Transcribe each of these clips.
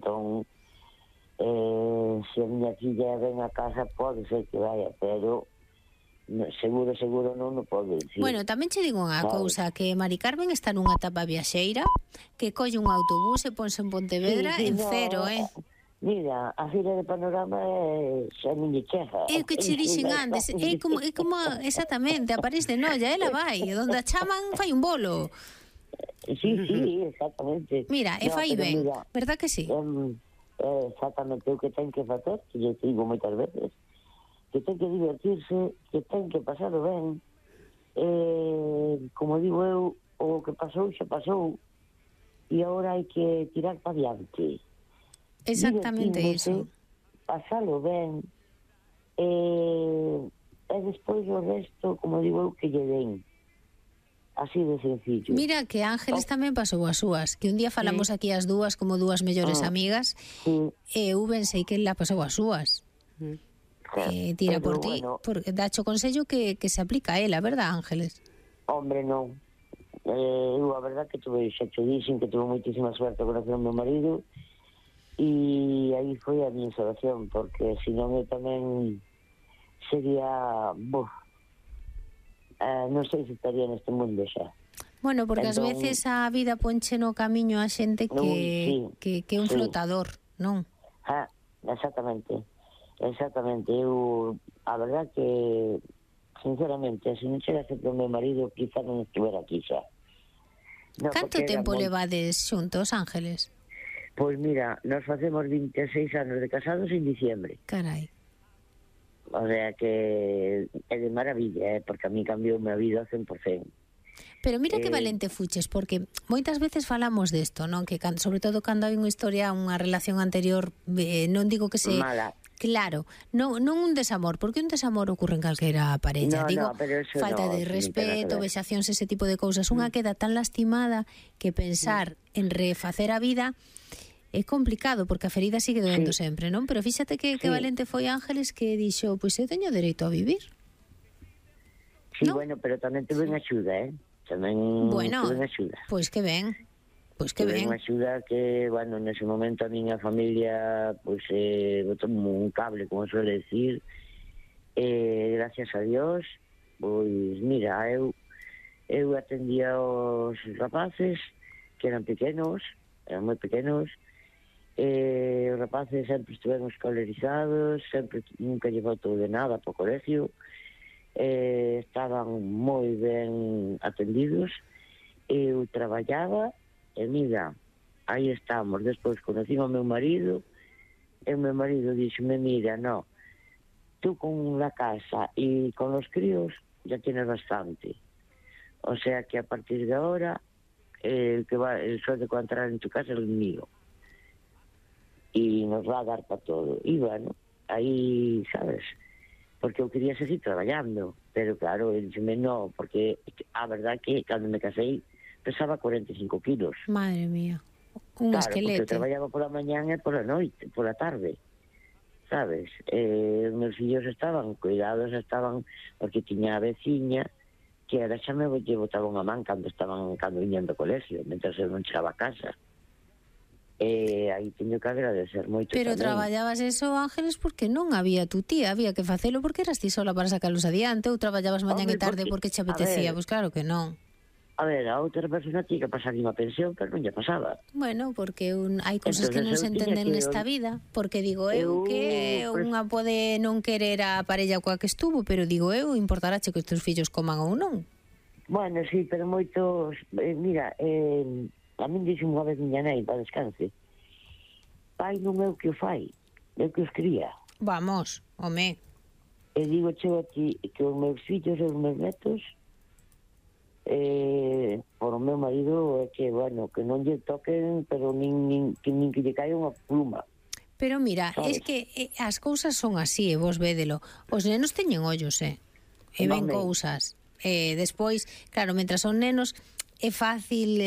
Entón, se a miña filla ven a casa, pode ser que vaya, pero seguro non pode dicir. Bueno, tamén che digo unha cousa, que Mari Carmen está nunha etapa viaxeira, que colle un autobús e ponse en Pontevedra en cero, Mira, a fila de Panorama xa non lle chega. É o que che dixen antes, é como exactamente, a París de Noia, ela vai, donde a chaman fai un bolo. Sí, exactamente. Mira, e fai ben, verdad que sí? Exactamente o que ten que facer, que lle digo moitas veces, que ten que divertirse, que ten que pasarlo ben. Como digo eu, o que pasou xa pasou, e agora hai que tirar para diante. Exactamente iso. Pasalo ben, e despois o resto, como digo eu, que lle den. Así de sencillo. Mira que Ángeles tamén pasou as súas, que un día falamos aquí as dúas como dúas mellores amigas, e eu pensei que ela pasou as súas. Tira por ti, porque dacho consello que se aplica a ela, verdad, Ángeles? Hombre, non. Eu a verdad que xa te dixen que tuve moitísima suerte con o meu marido, e aí foi a miña salvación, porque senón eu tamén sería... non sei se estaría neste mundo xa. Bueno, porque ás veces a vida ponche no camiño a xente que é un flotador, non? Exactamente. Eu, a verdad que, sinceramente, se non chegase pro meu marido, quizá non estuviera aquí xa. Canto tempo levades xuntos, Ángeles? Pois mira, nos facemos 26 anos de casados en diciembre. Carai. O sea que é de maravilla, porque a mí cambiou a vida ao 100%. Pero mira que valente fuches, porque moitas veces falamos desto, non? Que sobre todo cando hai unha historia, unha relación anterior, non digo que se... Mala. Claro, non un desamor, porque un desamor ocurre en calquera parella. Digo, falta de respeto, vexacións, ese tipo de cousas. Unha queda tan lastimada que pensar en refacer a vida é complicado, porque a ferida sigue doendo sempre, non? Pero fíxate que valente foi Ángeles, que dixo, pois eu teño dereito a vivir. Sí, ¿no? Bueno, pero tamén tuve unha axuda, Tamén tuve unha axuda. Pois que ben. Pois que ben. Tuve unha axuda que, bueno, nese momento a miña familia, pois, botou un cable, como suele decir, gracias a Dios, pois, mira, eu atendía aos rapaces, que eran pequenos, eran moi pequenos, os rapaces sempre estiveron escolarizados, sempre nunca lle faltou de nada para o colegio, estaban moi ben atendidos. Eu traballaba e mira, aí estamos. Despois conocín ao meu marido e o meu marido dixome, mira, no, tú con la casa e con los críos ya tienes bastante, o sea que a partir de ahora el sueldo que va a entrar en tu casa es el mío y nos va a dar para todo. Y bueno, aí, sabes, porque eu quería seguir traballando, pero claro, el dixeme no, porque a verdad que cando me casei pesaba 45 kilos. Madre mía, un esqueleto. Claro, porque eu traballaba pola mañán e pola noite, pola tarde, sabes? Os meus fillos estaban cuidados, porque tiña a veciña que era xa me botaba unha man cando viñan do colegio, mentre eu non chegaba a casa. Aí teño que agradecer moito. Pero tamén. Traballabas eso, Ángeles, porque non había tu tía, había que facelo porque eras ti sola para sacalos adiante, ou traballabas mañán e tarde porque che apetecía, pois claro que non. A ver, a outra persona tiña que pasar unha pensión, pero non lle pasaba. Bueno, porque hai cousas que non se entenden nesta vida, porque digo eu que unha pode non querer a parella coa que estuvo, pero digo eu, importarache que os teus fillos coman ou non. Bueno, sí, pero moitos... mira, a min dixo unha vez miña nai, para descanse, pai non é o que o fai, é o que os cría. Vamos, home. E digo cheo a ti que os meus fillos e os meus netos, por o meu marido, é que, bueno, que non lle toquen, pero nin que lle caia unha pluma. Pero mira, ¿sabes? Es que as cousas son así, e vos védelo. Os nenos teñen ollos, e ven cousas. Despois, claro, mentras son nenos, é fácil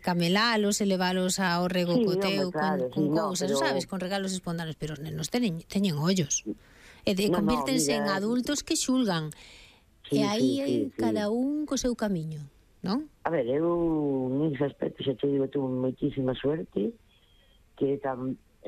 camelalos e levalos ao regocoteo con cousas, pero... sabes, con regalos espontáneos, pero os nenos teñen ollos. E convírtense en adultos que xulgan. E aí cada un co seu camiño, non? A ver, eu nese aspecto xa te digo, tuve moitísima suerte, que